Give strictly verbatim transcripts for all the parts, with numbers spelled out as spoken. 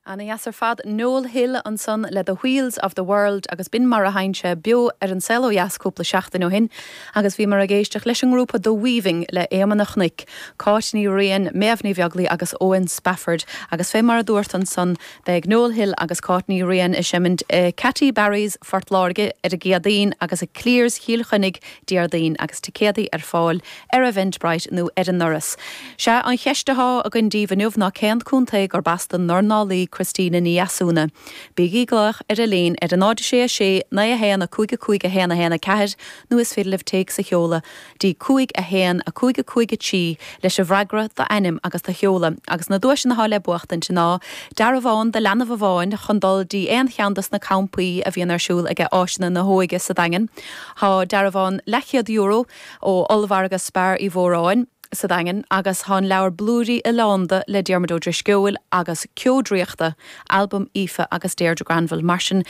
Ana dheas ar fad Noel Hill ansan le The Wheels of the World agus b'in mar a sheinn sé beo ar an Saol Ó Dheas cúpla seachtain ó shin agus bhíomar ag éisteacht leis an ngrúpa The Weaving le Éamonn an Chnoic, Cáit Ní Riain, Méabh Ní Bheaglaoí agus Owen Spafford agus fé mar a dúirt ansan beidh Noel Hill agus Cáit Ní Riain ag seimint i Catty Barry's Phort Láirge ar an gCéadaoin agus i Clears Chill Chainnigh Déardaoin agus ticéadaí ar fáil ar Eventbrite nó ar an ndoras. Sé an cheist atá againn daoibh inniu ná cén contae gurb as don dornálaí Christina Ní Dheasúna. Bígí ag glaoch ar an líne ar a náid sé a sé naoi a haon a cúig a cúig a haon a haon a ceathair nó is féidir libh téacs a sheoladh dtí cúig a haon a cúig a cúig a trí leis an bhfreagra d'ainm agus do sheoladh agus na duaiseanna atá le buachtaint ná dearbhán do leanbh amháin chun dul dtí aon cheann dos na campaí a bhíonn ar siúl ag áiseanna na hóige sa Daingean. Tá dearbhán leathchéad euro ó ollmhargadh Spar Uí Mhóráin sa Daingean agus tá an leabhar Blúirí Oileánda le Diarmuid Ó Drisceoil agus Ceo Draíochta, albam Aoife agus Deirdre Granville mar sin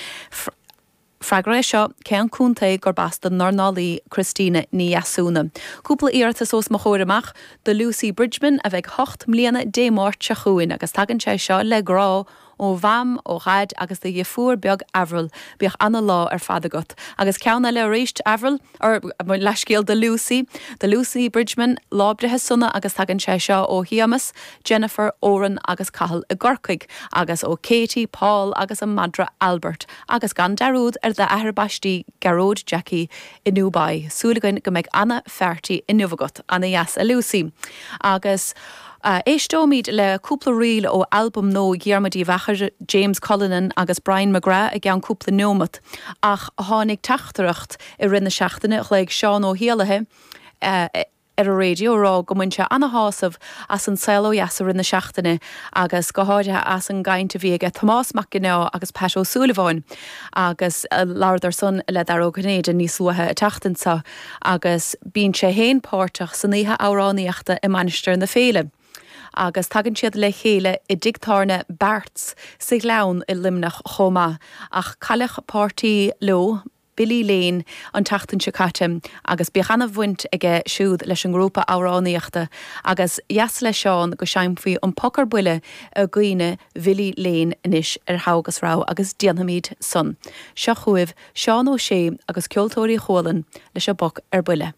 Freagra é seo cén contae gurb as don dornálaí Christina Ní Dheasúna. Cúpla iarratas os mo chomhair amach do Lucy Bridgman a bheidh hocht mbliana Dé Máirt seo chugainn agus tagann sé seo le grá ó mham ó dhaid agus do dheirfiúr beag Avril bíodh ana lá ar fad agat. Agus ceann eile arís Avril or leithscéal do Lucy, do Lucy Bridgman lá breithe sona agus tagann sé seo ó Shéamus, Jennifer, Oran agus Cathal i gCorcaigh, agus ó Katie, Paul agus an madra Albert, agus gan dearúd ar d'athair baistí Gearóid Jackie i Dubai. Súil againn go mbeidh ana pharty inniu agat ana dheas a Lucy. Agus Uh, Éisteoimid le cúpla ríl ó albam nua Dhiarmuid Uí Mheachair, James Cullinan agus Brian McGrath i gceann cúpla nóiméad ach tháinig teachtaireacht i rith na seachtaine ghlaoigh Seán Ó hÉalaithe uh, ar an raidió rá go mbain sé ana-shásamh as an Saol Ó Dheas i rith na seachtaine agus go háirithe as an gcaint a bhí aige Tomás Mac Ginneá agus Pat Ó Súilleabháin agus uh, labhradar san le Dara Ó Cinnéide níos luaithe an tseachtain seo agus bíonn sé féin páirteach san oíche amhránaíochta i Mainistir na Féile. agus tagann siad le chéile i dtigh tábhairne Barts sa Ghleann i Luimneach chomh maith ach cailleadh páirtí leo Billy Lane an tseachtain seo caite agus bhí ana-bhaint aige siúd leis an ngrúpa amhránaíochta agus dheas le Seán go seinnfí an Poc ar Buile i gcuimhne Bhilly Lane anois ar Thogha agus Rogha agus déanfaimid san. Seo chugaibh Seán Ó Sé agus Ceoltóirí Chualann leis an bPoc ar Buile.